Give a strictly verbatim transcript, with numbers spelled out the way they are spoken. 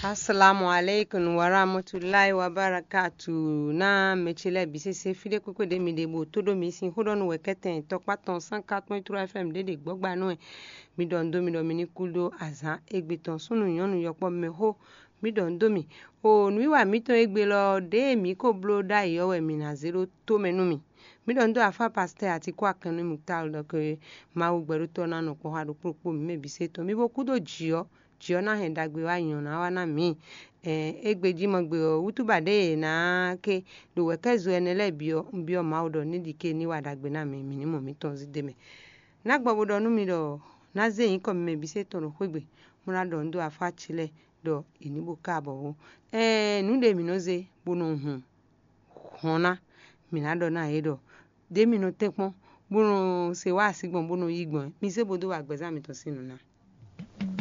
Assalamu alaikum warahmatullahi wabarakatuh. Na mɛ ce lɛ́ɛ bǐ sésé fí ɖé kpékpé ɖě mi ɖe bó tó ɖó mi sín xó ɖɔ nú wɛ kɛ́tɛn tɔkpá tɔn cent quatre point trois F M ɖě ɖe gbɔ́gba nú wɛ. Mi ɖɔ nǔ dó mi ɖɔ mi ní kú ɖó azǎn égbé tɔn súnnu nyɔ̌nu yɔkpɔ́ mɛ xó. Mi ɖɔ nǔ dó mi. O nǔwiwa mǐtɔn égbé lɔ ɖěe mǐ ko bló ɖ'ayǐ ɔ́ wɛ mǐ ná zé ɖó tó mɛ nú mi. Mi ɖɔ nǔ dó afá pastɛ́ Atíkú Akɛnnú Muktálu ɖɔ ke Mawu gbɛɖótɔ́ ná nɔ kpɔ́ xá ɖokpó ɖokpó mǐ mɛ bǐ sésé tɔn. Mi bo kú ɖó jǐ ɔ́, jǐ ɔ́ ná hɛn ɖagbe wá nyɔ ná wá ná mǐ. Ɛɛ, égbé jí mɔ gbe ɔ́, wútúba ɖě e è nǎ ké ɖo wɛ̌kɛ́zo ɛnɛ lɛ́ɛ bǐ ɔ́, un byɔ́ Mawu ɖɔ ní ɖi ké ní wa ɖagbe ná mǐ, mǐ ní mɔ mǐtɔn zí d'é mɛ. Ná gbɔ bo ɖɔ nú mi ɖɔ ná zé nyǐkɔ mimɛ bǐ sésé tɔn ɖo xwé gbe, bó ná ɖɔ nǔ dó afá ce lɛ́ɛ ɖɔ è ní bo ká abɔ̌ ó. Ɛɛ, nǔ ɖě mǐ nɔ zé bó nɔ hun hɔn ná, mǐ ná ɖɔ ná yě ɖɔ ɖě mi nɔ tɛ́nkpɔ́n bó nɔ se wá así gbɔn bó nɔ yí gbɔn é, mi zé bó dó wa gbɛ̌zán mitɔn sín nǔ ná.